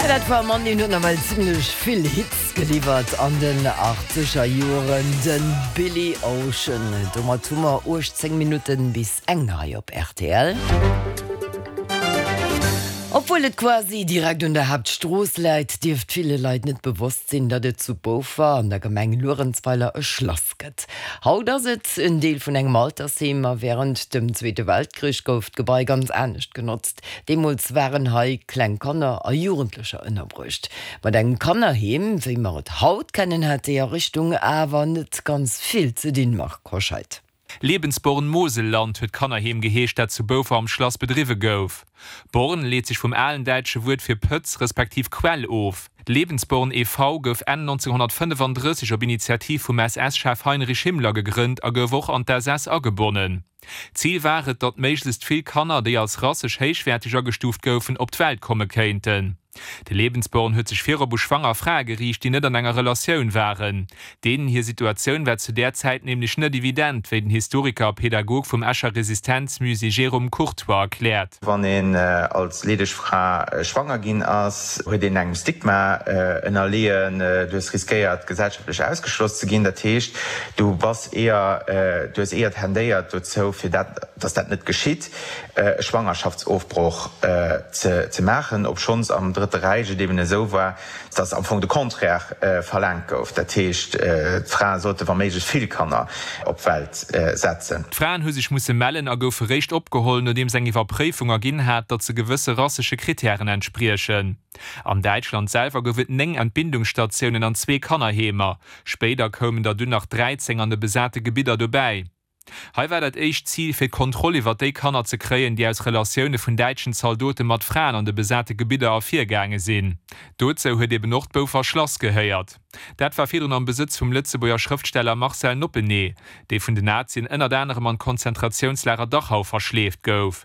Dat war e Mann, deen huet nawell zimlech vill Hits geliwwert an den achtzeger Joren, de Billy Ocean. Domat hu mer 18 Minutten bis eng hei op rtl. Obwuel et quasi direkt un der Haaptstrooss läit, dierft ville Leit net bewosst sinn, datt et zu Boufer an der Gemeng Luerenzweiler e Schlass gëtt. Haut ass et en Deel vun engem Altersheem a wärend dem Zweete Weltkrich gouf d'Gebai ganz anescht genotzt. Deemools waren hei kleng Kanner a Jugendlecher ënnerbruecht. Mat engem Kannerheem, wéi mer et haut kennen, hat déi Ariichtung awer net ganz vill ze dinn, Marc Hoscheid. Lebensborn Moselland huet d'Kannerheem geheescht, dat zu Boufer am Schlass bedriwwe gouf. Born leet sech vum alen däitsche Wuert fir Pëtz respektiv Quell of. D'Lebensborn e.V. gouf Enn 1935 op Initiativ vum SS-Chef Heinrich Himmler gegrënnt a gouf och an d'SS agebonnen. Zil war et, datt méiglechst vill Kanner, déi als rassesch héichwäerteg agestuuft goufen, op d'Welt komme kéinten. De Lebensborn huet sech virop u schwanger Frae geriicht, déi net an enger Relatioun waren. Deenen hir Situatioun war zu där Zäit nämlech net evident, wéi den Historiker a Pedagog vum Escher Resistenzmusée Jérôme Courtoy erkläert. Wann een als leedeg Fra schwanger ginn ass, huet een engem Stigma ënnerleeën. Du hues riskéiert, gesellschaftlech ausgeschloss ze ginn. Dat heescht, du bass eher, du hues eher tendéiert dozou, fir dat, dass dat net geschitt. e Schwangerschaftsofbroch ze maachen, obschonns am Drëtte Räich et eben esou war, datt am Fong de Contraire verlaangt gouf, dat heescht, d'Frae sollte wa méiglech vill Kanner op d'Welt setzen. D'Fraen hu sech musse mellen a goufe réischt opgeholl, nodeems eng Iwwerpréifung erginn hat, datt se gewësse rassesche Krittären entspriechen. An Däitschland selwer gouf et 9 Entbindungsstatiounen an zwee Kannerheemer. Spéider koumen der dunn nach 13 an de besate Gebidder dobäi. Hei war dat éischt Zil, fir d'Kontroll iwwer déi Kanner ze kréien, déi aus Relatioune vun däitschen Zaldote mat Fraen an de besate Gebidder ervirgaange sinn. Dozou huet eben och d'Boufer Schlass gehéiert. Dat war virdrun am Besëtz vum Lëtzebuerger Schrëftsteller Marcel Noppenee, dee vun den Nazien ënnert anerem an d'Konzentratiounslager Dachau verschleeft gouf.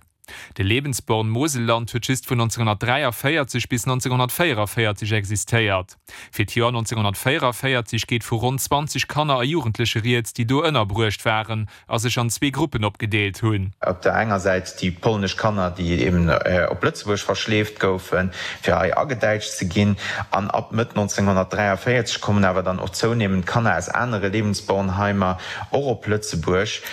De Lebensborn Moselland huet just vun 1943 bis 1944 existéiert. Fir d'Joer 1944 geet vu ronn 20 Kanner a Jugendleche rieds, déi do ënnerbruecht waren a sech an zwee Gruppen opgedeelt hunn. Op der enger Säit déi polnesch Kanner, déi eben op Lëtzebuerg verschleeft goufen, fir hei agedäitscht ze ginn. An ab Mëtt 1943 kommen awer dann och zounehmend Kanner aus anere Lebensbornheimer och op Lëtzebuerg.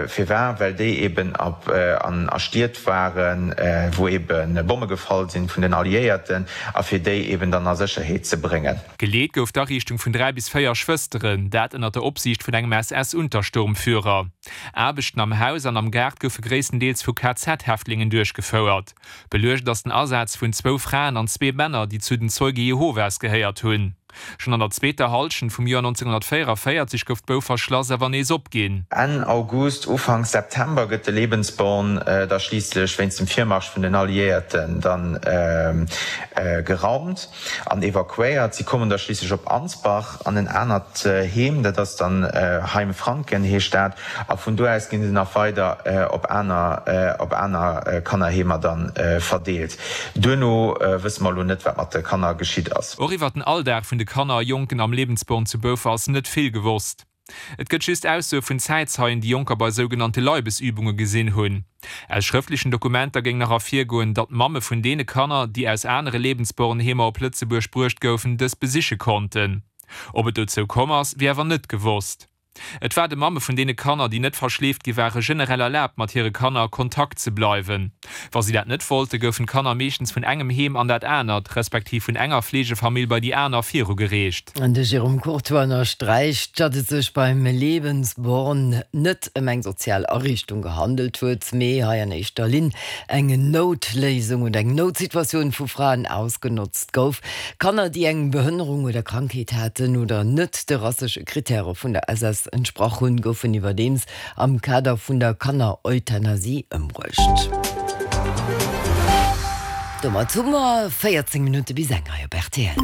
Firwar? Well déi eben a Stied waren, wou ebe Bomme gefall sinn vun den Alliéierten, a fir déi eben dann a Sécherheet ze bréngen. Geleet gouf d'Ariichtung vun 3 bis 4 Schwësteren, dat ënner der Opsiicht vun engem SS-Untersturmführer. Aarbechten am Haus an am Gaart goufe gréisstendeels vu KZ-Häftlingen duerchgefouert. Beluecht ass den Asaz vun zwou Fraen an zwee Männer, déi zu den Zeuge Jehovas gehéiert hunn. Schonn an der zweeter Hallschent vum Joer 1944 gouf d'Boufer Schlass awer nees opginn. Enn August, Ufank September gëtt de Lebensborn da schliisslech wéinst dem Virmarsch vun den Alliéierten dann geraumt an evakuéiert. Si kommen da schliisslech op Ansbach an en anert Heem, dat ass dann Heim Franken heescht dat, a vun do aus ginn se nach weider op aner op aner Kannerheemer dann verdeelt. Duerno wësse mer elo net, wat mat de Kanner geschitt ass. Och iwwer den Alldag vun de Kanner a Jonken am Lebensborn zu Boufer ass net vill gewosst. Et gëtt just Aussoe vun Zäitzeien, déi Jonker bei sougenannte Leibesübunge gesinn hunn. Aus schrëftlechen Dokumenter géing nach ervirgoen, datt d'Mamme vun deene Kanner, déi aus anere Lebensbornheemer op Lëtzebuerg bruecht goufen, dës besiche konnten. Ob et dozou komm ass, wier awer net gewosst. Et war de Mamme vun deene Kanner, déi net verschleeft gi ware generell erlaabt, mat hire Kanner a Kontakt ze bleiwen. Wa si dat net wollte, goufen d'Kanner meeschtens vun engem Heem an dat anert, respektiv vun enger Fleegefamill bei déi aner virugereecht. De Jérôme Courtoy ënnersträicht, datt et sech beim Lebensborn net ëm eng sozial Ariichtung gehandelt huet, mee hei an éischter Linn eng Noutléisung oder eng Noutsituatioun vu Fraen ausgenotzt gouf. Kanner, déi eng Behënnerung oder Krankheet haten oder net de rassesche Krittäre vun der SS entsprach hunn, goufen iwwerdeems am Kader vun der Kanner-Euthanasie ëmbruecht. Domat hu mer 14 Minutte bis eng hei op rtl.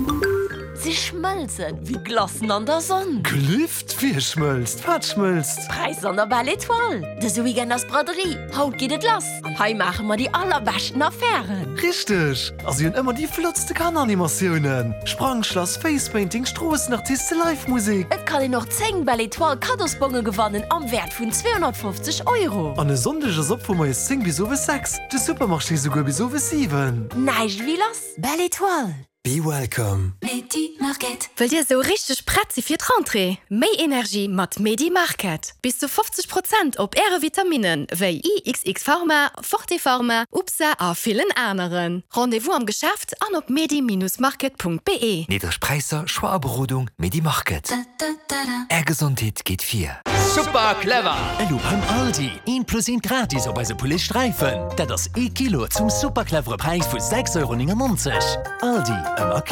Si schmëlzen wéi Glacen an der Sonn. Gelift? Wie schmëlzt? Wat schmëlzt? Präisser an der Belle Etoile! Dëse Weekend ass Braderie, haut geet et lass an hei maache mer déi allerbeschten Affären! Richteg! A si hunn ëmmer déi flottste Kanneranimatiounen, Sprangschlass, Facepainting, Stroossenartiste, Live Musek. Et kann een och 10 Belle Etoile Kaddosbonge gewannen am Wäert vun 250 Euro. An e Sonndeg ass op vu moies 10 bis owes 6, de Supermarché souguer bis owes 7. Näischt ewéi lass! Belle Étoile! Be welcome. Medi Market. Wëllt Dir esou richteg prett si fir d'Rentrée? Méi Energie mat Medi Market! Bis zu 50 Prozent op Äre Vitaminnen wéi IXX Pharma, Forte Pharma, UPSA a villen aneren. Rendez-vous am Geschäft an op medi-market.be. Niddreg Präisser, Choix a Berodung, Medi Market. Är Gesondheet geet vir. Super clever! Elo beim Aldi, eent plus eent gratis op eise Poulet Sträifen. Dat ass ee Kilo zum super clevere Präis vu 6,99 Euro. Aldi, ëmmer clever.